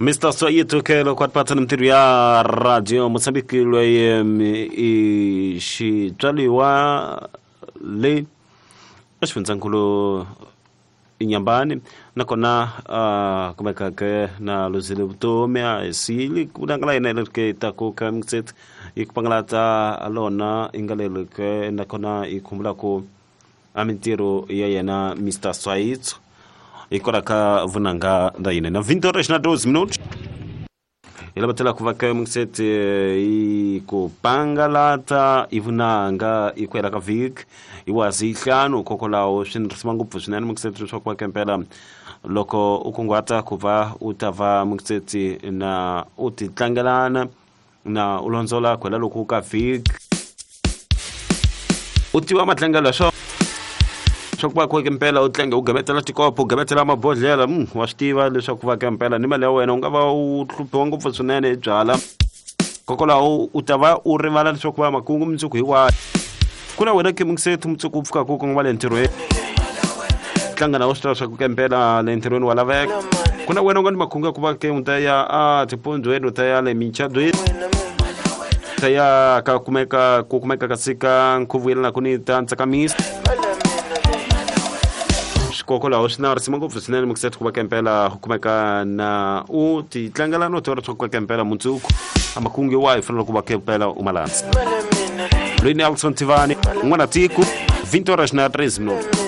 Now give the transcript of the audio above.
Mr Soyito ke loko a tipatsa ni mintirho ya radio Mozambique loyi i xitswaliwa le exifundzankulu Inyambani nakona kumeka ke na luzile vutomi a hi sili ku vunanga la yena leri ke ta ku ka mixet yi ku pangalata lona yi nga leri ke nakona yi khumbula ku a mintirho ya yena Mr Swaitso hi kwala ka vunanga ra yena na 20 horas na 12 minutos hi lava tlhela ku va ka mixet yi ku pangalata i vunanga yi ku hela ka vhiki hi wazi ntlhanu hikokwalaho swi ni risima ngopfu swinene mixet leswaku va kempela loko u kunguhata ku va u ta va mixeti na u ti tlangelana na u londzola ku hela loko ka vhiki u tiva matlangelo ya swona swa ku va ku mpela u tlange u gemetela tikopo u gemetela mabodhlela wa swi tiva leswaku va ka mpela ni mali ya wena u nga va u hluphiwa ngopfu swinene hi byala kokwalaho u ta va u rivala leswaku va makungu mundzuku hi wahi ku na wena kemingisetu mundzuku u pfukaka u kongoma le ntirhweni tlanga na u swi tiva swa ku kempela le ntirhweni wa laveka ku na wena u nga ni makungu ya ku va ke u ta ya a tipondzweni u ta ya le michadweni ta ya ka kumeka ku kumeka kasi ka nkhuvo yelanaka ni ta ntsakamisa swikokwalaho swi na risima ngopfu swinene mukiseti ku va kempela ku kumeka na u ti tlangela no tiva leswaku ka kempela mundzuku a makungu yo wahi fanele ku va kempela u malandza loyi ni Alson Tivani n'wana tiko 20 horas na 13 minutos.